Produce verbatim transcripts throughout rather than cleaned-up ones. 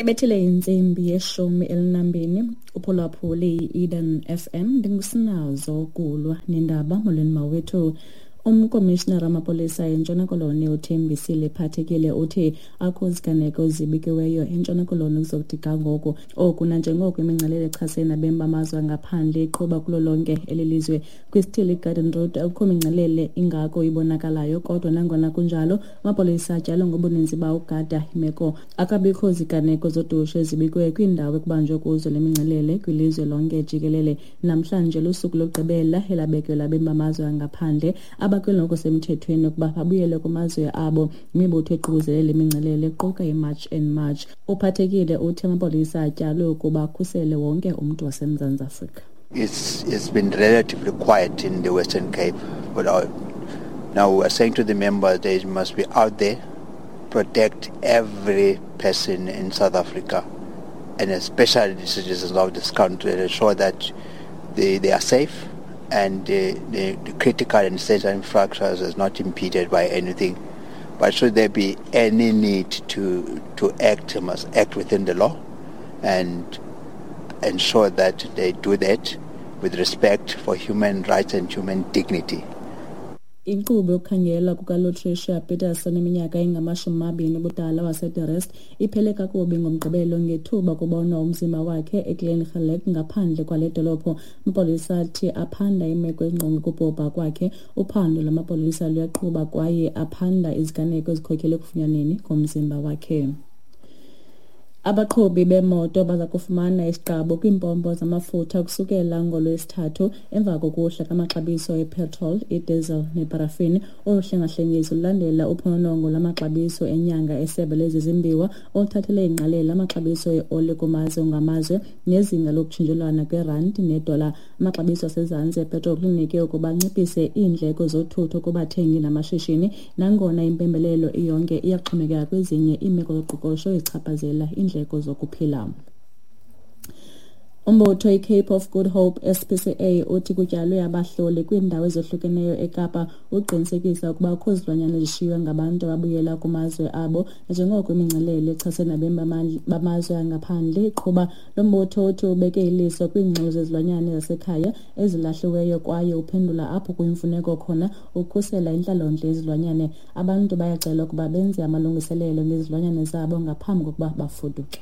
Ibethile intsimbi yeshumi elinambini uphulaphuli i-Eden F M, ndingusinazo kulwa nendaba. Molweni mawethu. Umkomishinara wamapolisa eNtshona Koloni uThembisile Phathekile uthi akho ziganeko zibikiweyo eNtshona Koloni ukuzokuthi ga ngoku. Oku nanjengoko imingcelele echasene nabemi bamazwe angaphandle iqhuba kulo lonke eli lizwe. Kwisithili iGarden Road akukho mingcelele ingako ibonakalayo, kodwa nangona kunjalo amapolisa atyalwe ngobuninzi bawo ukugada imeko. Akabikho ziganeko zodushe ezibikwe kwiindawo ekubanjwe kuzo le mingcelele kwilizwe lonke jikelele. Namhlanje lusuku lokugqibela elabekelwe abemi bamazwe angaphandle abakweli ngokusemthethweni ukuba babuyele kumazwe abo. Imibutho eququzelele imingcelele iquka iMarch and March. Uphathekile uthi amapolisa atyalwe ukuba akhusele wonke umntu waseMzantsi Afrika. It's, it's been relatively quiet in the Western Cape, but our, now we are saying to the members they must be out there, protect every person in South Africa, and especially the citizens of this country, and ensure that they, they are safe and the, the, the critical and essential infrastructure is not impeded by anything. But should there be any need to, to act, they must act within the law and ensure that they do that with respect for human rights and human dignity. Inkqubo yokukhangelwa kukaLutricia Peterson eminyaka engamashumi amabini ubudala waseDe Rust iphele kakubi ngoMgqibelo ngethuba kubonwa umzimba wakhe eGlen Geluk ngaphandle kwale dolophu. Amapolisa athi aphanda imeko engqonge ukubhubha kwakhe. Uphando lwamapolisa luyaqhuba kwaye aphanda iziganeko ezikhokelele ekufunyanweni komzimba wakhe. Abaqhubi beemoto baza kufumana isiqabu kwiimpompo zamafutha kusukela ngoLwesithathu emva kokuhla kwamaxabiso epetrol, idiesel neparafini. Olu hlengahlengiso lulandela uphononongo lwamaxabiso enyanga esebe lezezimbiwa oluthathele ingqalelo amaxabiso eoli kumazwe ngamazwe nezinga lokutshintshelwana kwerandi nedola. Amaxabiso asezantsi epetrol kulindeleke ukuba anciphise iindleko zothutho kubathengi namashishini, nangona impembelelo iyonke iyaxhomekeka kwezinye iimeko zoqoqosho ezichaphazela iindleko zokuphila. Umbutho iCape of Good Hope S P C A uthi kutyalwe abahloli kwiindawo ezohlukeneyo eKapa ukuqinisekisa ukuba akukho zilwanyana ezishiywe ngabantu ababuyela kumazwe abo nanjengoko imingcelele echasene nabemi bamazwe angaphandle iqhuba. Lo mbutho uthi ubeke iliso kwiingxelo zezilwanyana zasekhaya ezilahliweyo kwaye uphendula apho kuyimfuneko khona ukukhusela intlalontle yezilwanyana. Abantu bayacelwa ukuba benze amalungiselelo ngezilwanyana zabo ngaphambi kokuba bafuduke.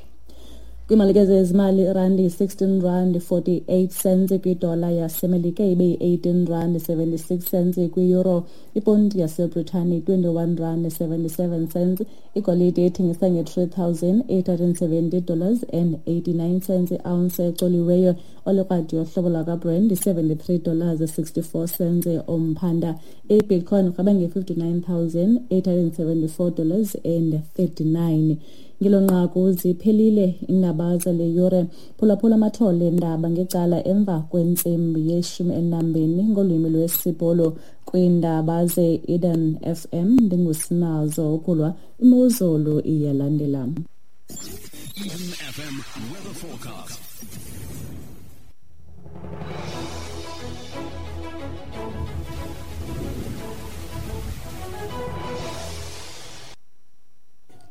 Kwiimalike zezimali, irandi yi-sixteen rand forty-eight cents kwidola yaseMelika, ibe yi-eighteen rand seventy-six cents kwi-euro. Iponti yaseBritane twenty-one rand seventy-seven cents. Igolide ithengisa nge-three thousand eight hundred and seventy dollars and eighty-nine cents i-ounce ecoliweyo. Olukrwada yohlobo lwakwaBrent seventy-three dollars sixty-four cents umphanda. IBitcoin irhweba nge-fifty-nine thousand eight hundred and seventy-four dollars and thirty-nine. Ngelo nqaku ziphelile iindaba zale yure. Phulaphula amathole eendaba ngecala emva kwentsimbi yeshumi elinambini ngolwimi lwesiBhulu kwiindaba ze-Eden F M. Ndingusinazo ukulwa. Imozulu iyalandela. Eden F M weather forecast.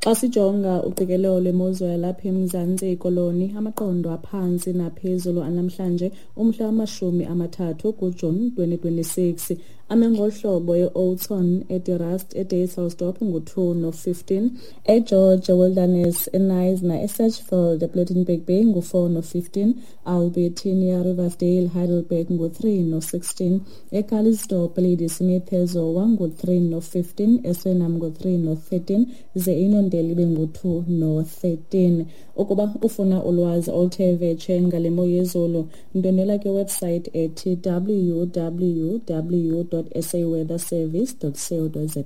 Xa sijonga uqikelelo lwemozulu yalapha eMzantsi Koloni, amaqondo aphantsi naphezulu anamhlanje umhla wamashumi amathathu kuJuni twenty twenty-six ame ngolu hlobo: e-Oudtshoorn, eDe Rust, eDysselsdorp ngu-two no-fifteen, eGeorge Wilderness, eKnysna, eSedgefield, ePlettenberg Bay ngu-four no-fifteen, Albertinia, Riversdale, Heidelberg ngu-three no-sixteen, eCalitzdorp, Ladysmith, eZowa ngu-three no-fifteen, eSwellnum ngu-three no-thirteen, ze iNondeli ibe ngu-two no-thirteen. Ukuba ufuna ulwazi oluthe vetshe ngale mo yezulu, ndwendwela kwiwebsite ethi W W W dot S A weather service dot co dot za.